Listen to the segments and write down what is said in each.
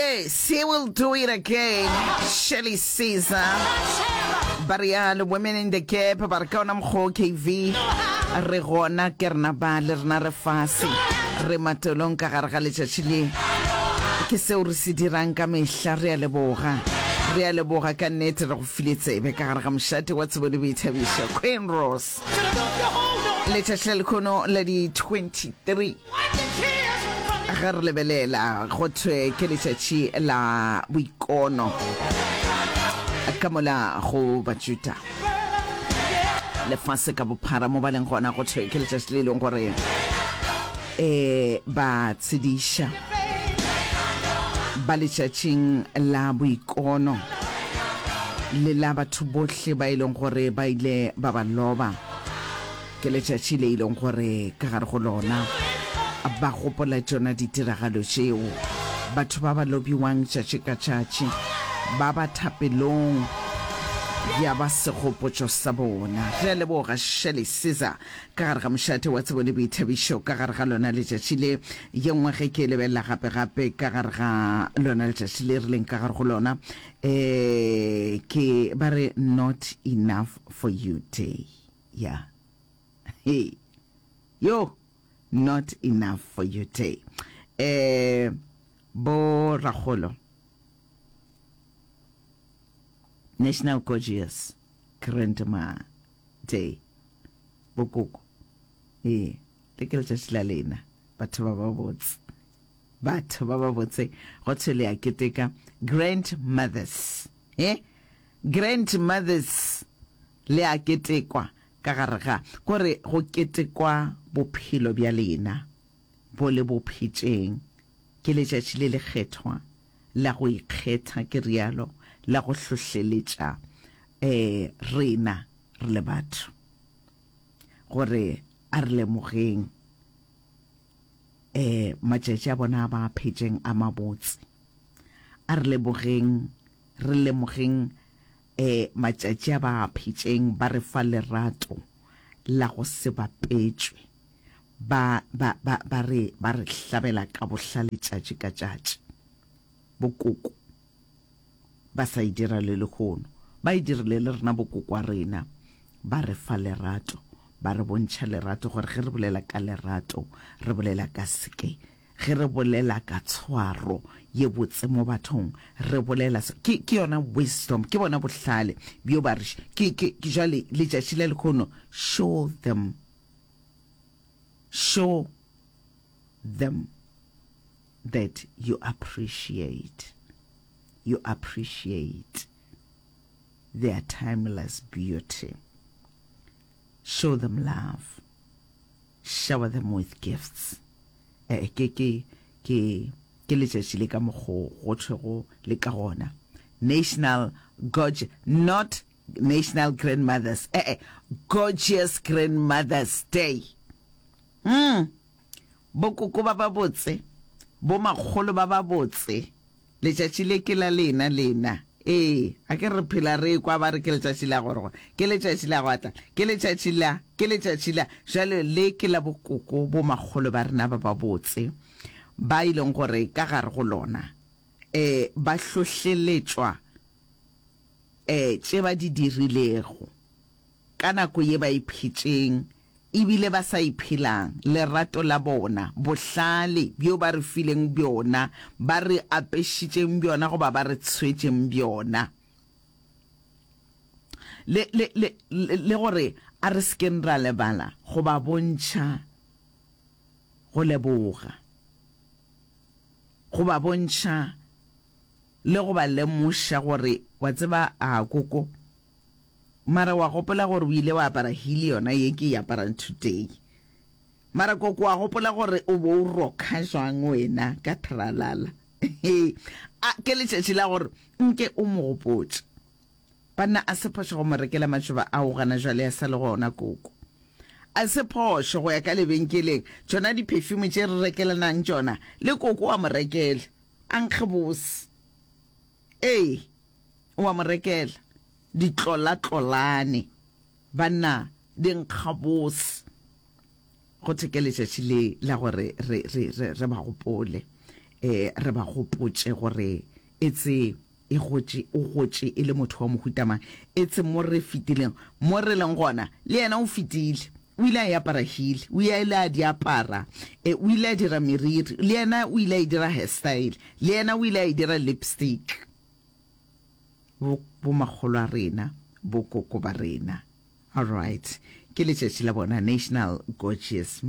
Yes, he will do it again. Shirley Caesar. Ba realo Women in the Gap ba re ka ona mokgwa o KV re gona ke rena ba le rena re fase re matolong ka gare ga letšatši le ke seo re se dirang ka mehla re a leboga re a leboga ka nnete re go file tsebe ka gare ga mošate wa tsebo le boithabišo Queen Rose letšatši la lekhono la di 23 Ge re lebelela go thwe ke letšatši la boikono ka mola go Bajuda lefase ka bophara mo ba leng gona go thwe ke letšatši le e leng gore um ba tshediša ba letšatšing la boikono le la batho bohle ba e leng gore ba ile ba ba loba. Ke letšatši le e leng gore ka gare go lona ba gopola tšona ditiragalo tšeo. Batho ba ba lobiwang tšatši ka tšatši ba ba thapelong ya ba segopotšo sa bona. Re a leboga Shirley Caesar ka gare ga mošate wa tsebo le boithabišo ka gare ga lona letšatši le. Ye nngwe ge ke e lebelela gape-gape ka gare ga lona letšatši le re leng ka gare go lona, um ke ba re Not Enough For You Day. Ya. Hey. Yo, not enough for you day. Eh, bo rakgolo. National Gorgeous Grandma Day. Bokoko. Eh, le ke letšatši la lena, batho ba ba botse. Batho ba ba botse, go thwe le a keteka grandmothers. Eh? Grandmothers. Le a ketekwa ka gare ga, gore go ketekwa bophelo bja lena bo le bo phetšeng. Ke letšatši le lekgethwa la go ikgetha, ke realo, la go hlohleletša eh rena re le batho gore a re lemogeng eh matšatši a bona a ba a phetšeng a mabotse. A re lebogeng, re lemogeng Ee, matšatši a ba a phetšeng ba re fa lerato la go se bapetšwe. Ba, ba, ba, ba re, ba re hlabela ka bohlale tšatši ka tšatši. Bokoko ba sa e dira le lehono. Ba e dirile le rena bokoko wa rena. Ba re fa lerato, ba re bontšha lerato gore ge re bolela ka lerato, re bolela ka seke. Ge re bolela ka tshwaro ye botse mo bathong, re bolela se. Ke, ke yona wisdom, ke bona bohlale bjo ba re, ke, ke, ke jwale letšatši la lehono, show them, show them that you appreciate, you appreciate their timeless beauty. Show them love. Shower them with gifts. Eh, ke, ke, ke, ke letšatši le ka mokgo go thwego le ka gona. National Gorge, not National Grandmothers, eh, eh, Gorgeous Grandmothers Day. Mm. Bokoko ba ba botse, bo makgolo ba ba botse. Letšatši le ke la lena, lena. Ee, a ke re phela re ekwa ba re ke letšatši la gore gore, ke letšatši la go atla, ke letšatši la, ke letšatši la. Bjale le ke la bokoko bo makgolo ba rena ba babotse, ba e leng gore ka gare go lona, ee, ba hlohleletšwa, ee, tše ba di dirilego ka nako ye ba e phetšeng, E bile ba sa iphelang, lerato la bona, bohlale bjo ba re fileng bjona, ba re apešitšeng bjona goba ba re tshwetšeng bjona. Le, le, le, le gore a re se keng ra lebala go ba bontšha go leboga, go ba bontšha le go ba lemoša gore, wa tseba, a koko, Mara wa gopola gore o ile wa apara heel yona ye ke e aparang today? Mara koko wa gopola gore o bo o rokha jwang wena ka tralala? A ke letšatši la gore nke o mo gopotše. Banna a se phošo go mo rekela matšoba ao gana jwale a sa le gona koko. A se phošo go ya ka lebenkeleng tšona di-perfume tše re rekelanang tšona le koko wa mo rekela. A nkge bose. Ee. O a mo rekela ditlolatlolane, banna, di nkga bose. Go thwe ke letšatši le la gore re, re, re, re ba gopole. um re ba gopotše gore etse e gotše, o gotše e le motho wa mohuta mang. Etse mo re fetileng, mo re leng gona, le yena o fetile. O ile a e apara heel, o ile a di apara, e, o ile a dira meriri, le yena o ile a e dira hairstyle, le yena o ile a e dira lipstick. Bo, bo makgolo a rena, bo koko ba rena. All right. Ke letšatši la bona, National Gorgeous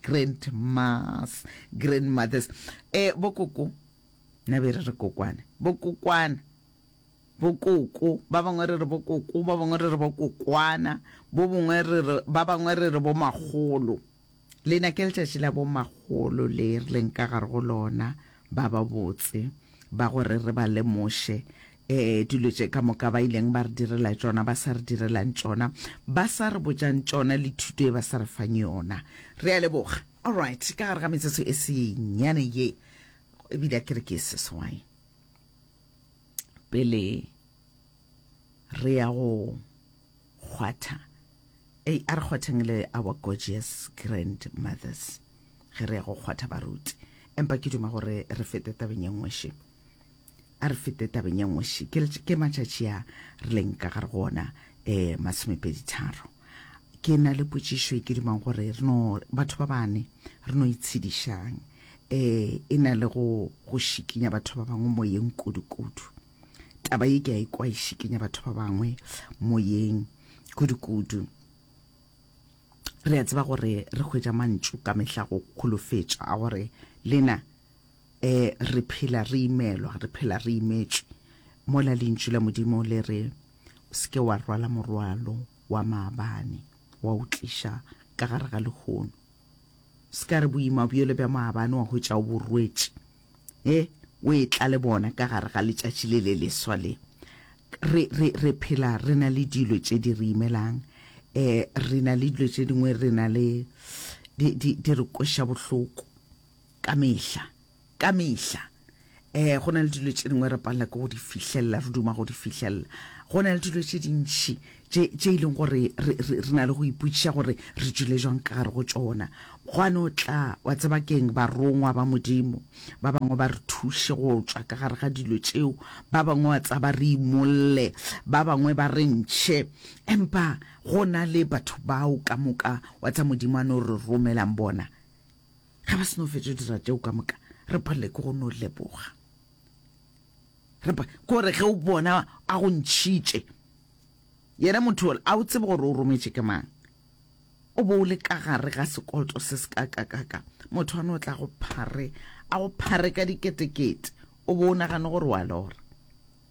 Grandmas, Grandmothers. E, bo koko, nna be re re kokwane, bo kokwana, bo koko, ba bangwe re re bo koko, ba bangwe re re bo kokwana, bo bongwe re re, ba bangwe re re bo makgolo. Lena ke letšatši la bo makgolo le re leng ka gare go lona, ba ba botse, ba gore re ba lemoše, eh, dilo tše ka moka ba ileng ba re direla tšona, ba sa re direlang tšona, ba sa re botšang tšona, le thuto e ba sa re fang yona. Re a leboga. All right, ka gare ga metsotso e senyane ye, ebile a ke re ke seswai, pele re ya go kgwatha, ei, a re kgwatheng le our gorgeous grandmothers ge re ya go kgwatha baruti. Empa ke duma gore re fete tabeng ye nngwe še. A re fete tabeng ye nngwe še. Ke, ke matšatši a re leng ka gare go ona, eh, masomepeditharo. Ke na le potšišo e ke dumang gore re no, batho ba bane, re no itshedišang. Eh, e na le go, go šikinya batho ba bangwe moyeng kudu-kudu. Taba ye ke a ikwa e šikinya batho ba bangwe moyeng kudu-kudu. Re a tseba gore re hwetša mantšu ka mehla go kholofetša a gore lena E, re phela re imelwa, re phela re imetšwe. Mola Lentšu la Modimo le re, O se ke wa rwala morwalo wa maabane wa o tliša ka gare ga lehono. Se ka re boima bjole bja maabane wa hwetša o bo rwetše, e, o etla le bona ka gare ga letšatši le le leswa le. Re, re, re phela re na le dilo tše di re imelang, e, re na le dilo tše dingwe re na le, di, di, di re kweša bohloko. Ka mehla, ka mehla. Eh, go na le dilo tše dingwe re palela ke go di fihlelela, re duma go di fihlelela. Go na le dilo tše dintši tše, tše e leng gore re, re, re na le go ipotšiša gore re tšwile jwang ka gare go tšona. Gwa no tla, wa tseba ke'ng, barongwa ba Modimo, ba bangwe ba re thuše go tšwa ka gare ga dilo tšeo, ba bangwe wa tseba ba re imolle, ba bangwe ba re ntšhe. Empa go na le batho bao ka moka, wa tseba, Modimo a no re romelang bona. Ge ba se no fetša go dira tšeo ka moka, re palelwe ke go no leboga. Re pa, ke gore ge o bona a go ntšhitše, yena motho yola, a o tsebe gore o rometše ke mang. O bo o le ka gare ga sekoloto se se kakakaka, motho a no tla go phare, a go phare ka diketekete, o bo o nagane gore wa lora.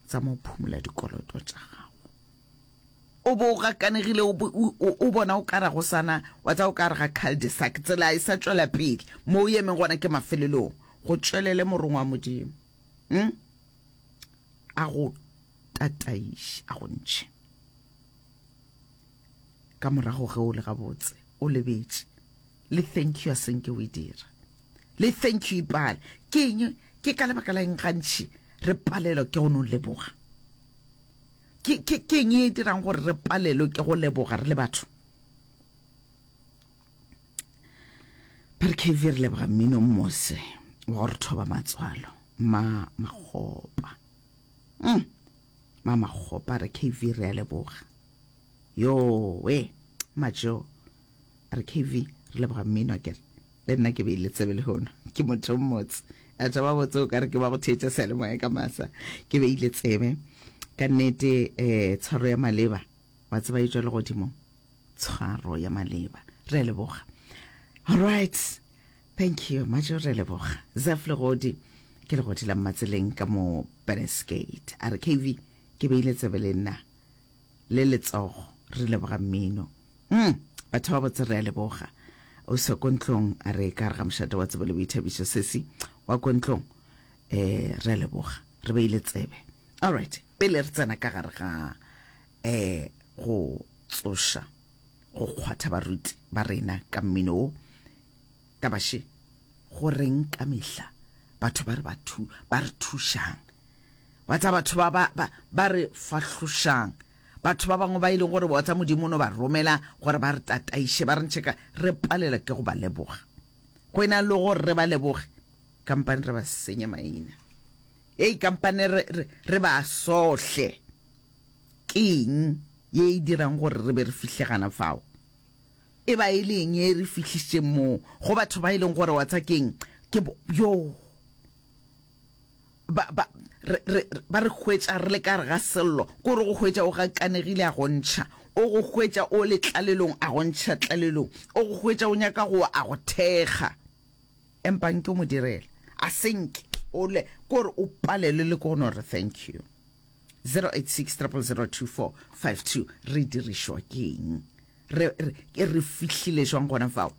Tsamaya o phumola dikoloto tša gago. O bo o gakanegile, o, o, o bona o ka re go sana, wa tseba o ka re ga cul-de-sac, tsela e sa tšwela pele, mo o emeng gona ke mafelelong. Go tšwelele Morongwa wa Modimo, hm, a go tataiše, a go ntšhe. Ka morago ge o le gabotse, o lebetše, le thank you a senke o e dira. Le thank you ipale. Ke eng, ke ka lebaka la eng gantši re palelwa ke go no leboga? Ke, ke, ke eng e dirang gore re palelwe ke go leboga re le batho? Ba re KV re leboga mmino mmose wa go re thoba matswalo. Ma Makgopa. Mm. Ma Makgopa re KV re a leboga. Yo we, Majo. Re KV re leboga mmino akere. Le nna ke beile tsebe lehono. Ke motho mmotse. Batho ba botse o ka re ke ba go theetša seyalemoya ka masa. Ke beile tsebe. Ka nnete eh tshwaro ya maleba wa tseba e tšwa legodimong. Tshwaro ya maleba. Re a leboga. All right. Thank you. Majo re a leboga. Zef Legodi ke legodi la Mmatseleng ka mo Beneskate. A re KV ke beile tsebe le nna. Le letsogo re leboga mmino. Mm, batho ba botse re a leboga. O se ko ntlong a re ka re ga mošate wa tsebo le boithabišo sesi wa ko ntlong eh re a leboga re beile tsebe. All right, pele re tsena ka gare ga eh go tsoša go kgwatha baruti ba rena ka mmino wo taba še go reng ka mehla batho ba re ba thu ba re thušang Wa tsa batho ba ba ba ba re fahlošang, batho ba bangwe ba e leng gore wa tsa Modimo o no ba romela gore ba re tataiše, ba re ntšhe ka, re palela ke go ba leboga. Go e na le gore re ba leboge, Kampane re ba senye maina. Hei, kampane re, re, re ba sohle. Ke eng ye e dirang gore re be re fihle gana fao? E ba e le eng ye e re fihlišitšeng moo go batho ba e leng gore wa tsa keng ke bo, yo ba, ba, re, re, ba re hwetša re le ka gare ga sello, ke gore go hwetša o gakanegile a go ntšha, o go hwetša o le tlalelong a go ntšha tlalelong, o go hwetša o nyaka go wa a go thekga. Empa nke o mo direla, a se nke o le, ke gore o palelwe le ke go no re thank you. 086 000 2452 Re dirišwa ke eng? Re, re, re fihlile jwang gona fao?